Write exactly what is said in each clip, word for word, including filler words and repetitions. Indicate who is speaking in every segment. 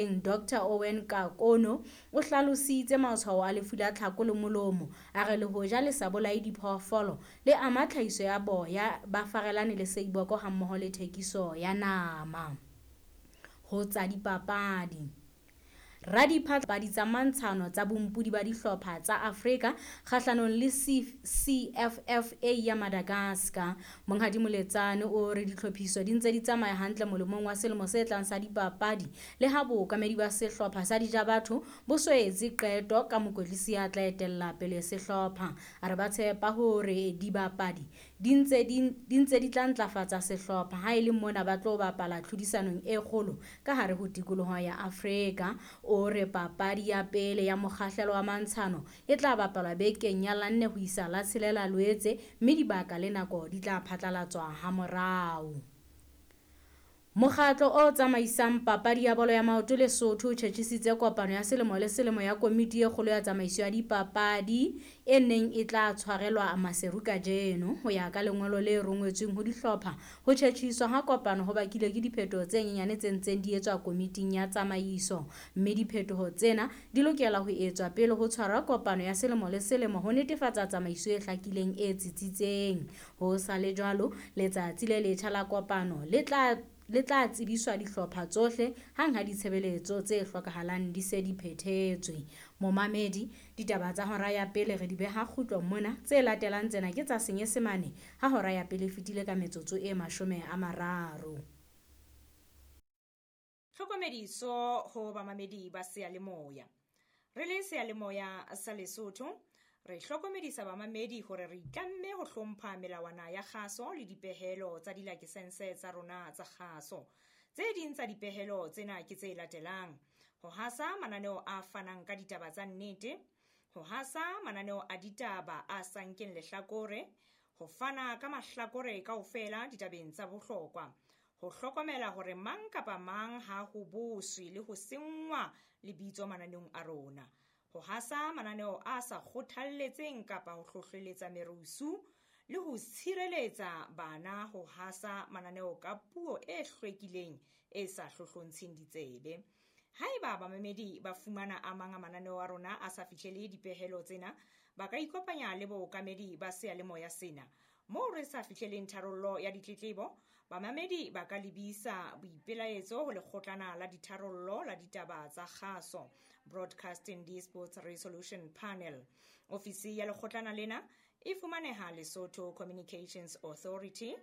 Speaker 1: Doctor Owen Kakono o hlalositse matshwao a lefu la tlhako le molomo. A re le hoja le sa bolaye diphoofolo, le ama tlhahiso ya boya ba farelane le seiboko hammoho le thekiso ya nama. Ho tsa dipapadi. Radipapadi tsa mantshano tsa bompodi ba dihlopha tsa Afrika kgahlanong le C F F A ya Madagascar. Monghadi Moletsane o re ditlhophiso di ntse di tsamaya hantle molemong wa selemo se tlang sa dipapadi le ha bookamedi ba sehlopha sa Dijabatho bo so etse qeto ka mokwetlisi ya tla etella pele sehlopha. A re ba tshepa hore dibapadi di ntse di, di ntse di tla ntlafatsa sehlopha ha e le mona ba tlo bapala tlhodisanong e kgolo ka hare ho tikoloho ya Afrika. O re papadi ya pele ya mokgahlelo wa mantshano e tla bapalwa bekeng ya la nne ho isa la tshelela Loetse, mme dibaka le nako di tla phatlalatswa hamorao. Mokgatlo o tsamaisang papadi ya bolo ya maoto Lesotho o tjhetjhisitse kopano ya selemo le selemo ya komiti e kgolo ya tsamaiso ya dipapadi e neng e tla tshwarelwa Maseru kajeno. Ho ya ka lengolo le rongwetsweng ho dihlopha, ho tjhetjhiswa ha kopano ho bakilwe ke diphetoho tse nyenyane tse ntseng di etswa komiting ya tsamaiso, mme diphetoho tsena di lokela ho etswa pele ho tshwarwa kopano ya selemo le selemo ho netefatsa tsamaiso e hlakileng e tsitsitseng. Ho sa le jwalo, letsatsi le letjha la kopano le tla le tla tsebiswa dihlopha tsohle hang ha ditshebeletso tse hlokahalang di se di phethetswe. Momamedi, ditaba tsa hora ya pele re di beha kgutlong mona. Tse latelang tsena ke tsa Senyesemane ha hora ya pele e fetile ka metsotso e mashome a mararo.
Speaker 2: Tlhokomediso ho bamamedi ba seyalemoya. Re le seyalemoya sa Lesotho, re hlokomedisa bamamedi hore re itlamme ho hlompha melawana ya kgaso le dipehelo tsa dilakesense tsa rona tsa kgaso. Tse ding tsa dipehelo tsena ke tse latelang: ho hasa mananeo a fanang ka ditaba tsa nnete, ho hasa mananeo a ditaba a sa nkeng lehlakore, ho fana ka mahlakore kaofela ditabeng tsa bohlokwa, ho hlokomela hore mang kapa mang ha ho boswe le ho senngwa lebitso mananeong a rona, ho hasa mananeo a sa kgothalletseng kapa ho hlohleletsa merusu, le ho tshireletsa bana ho hasa mananeo ka puo e hlwekileng e sa hlohlontsheng ditsebe. Haeba bamamedi ba fumana a mang a mananeo a rona a sa fihlele dipehelo tsena, ba ka ikopanya le bookamedi ba seyalemoya sena. Moo re sa fihleleng tharollo ya ditletlebo, bamamedi ba ka lebisa boipelaetso ho lekgotlana la ditharollo la ditaba tsa kgaso, Broadcasting Disputes Resolution Panel. Ofisi ya lekgotlana lena e fumaneha Lesotho Communications Authority,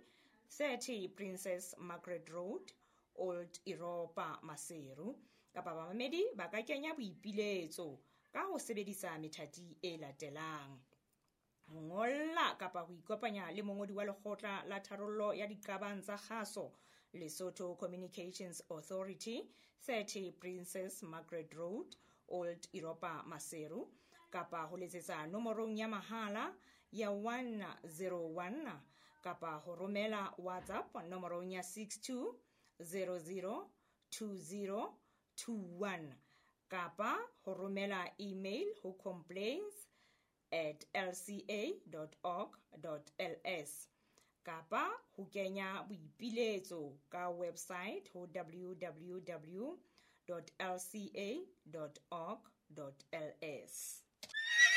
Speaker 2: thirty Princess Margaret Road, Old Europa, Maseru. Kapa bamamedi ba ka kenya boipiletso ka ho sebedisa methati e latelang: ho ngolla kapa ho ikopanya le mongodi wa lekgotla la tharollo ya diqabang tsa kgaso, Lesotho Communications Authority, thirty Princess Margaret Road, Old Europa, Maseru, kapa ho letsetsa nomorong ya mahala ya one zero one kapa ho romela WhatsApp nomorong ya six two zero zero two zero two one kapa ho romela email ho complaints at l c a dot org dot l s kapa ho kenya boipiletso ka website ho w w w dot l c a dot org dot l s.